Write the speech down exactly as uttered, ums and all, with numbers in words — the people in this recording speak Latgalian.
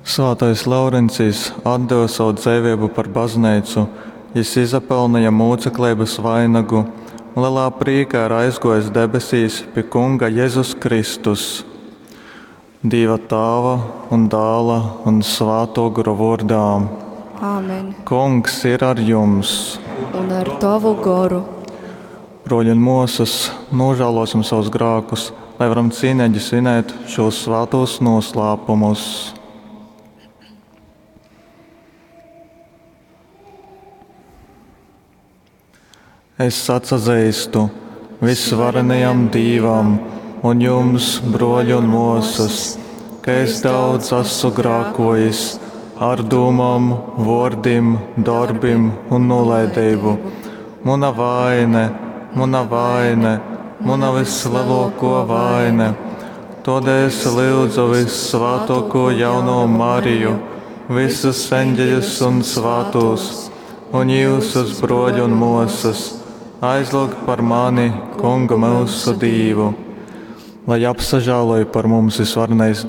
Svātais Laurencijs atdeve savu dzeiveibu par bazneicu, jys izapelneja mūcekleibas vainagu un lelā prīkā ir aizgōjis debesīs pi Kunga Jezus Kristus. Dīva Tāva un Dāla un Svātō Gora vōrdā. Āmen. Kungs ir ar jums! Un ar tovu goru. Brōļi un mōsas, nožēlosim savus grākus, lai varam cīneigi svinēt šos svātos noslēpumus. Es atsazeistu visvarenajam Dīvam un jums, brōļi un mōsas, ka es daudz esmu grākojis ar dūmām, vōrdim, dorbim un nolaideibu. Muna vaine, muna vaine, muna vislielākā vaine. Tādēļ es lūdzu vissvātāko jauno Mariju, visus eņģeļus un svātos, un jūsus brōļi un mōsas, aizlūgt par mani Kungu myusu Dīvu. Lai apsažāloj par mums visvarenais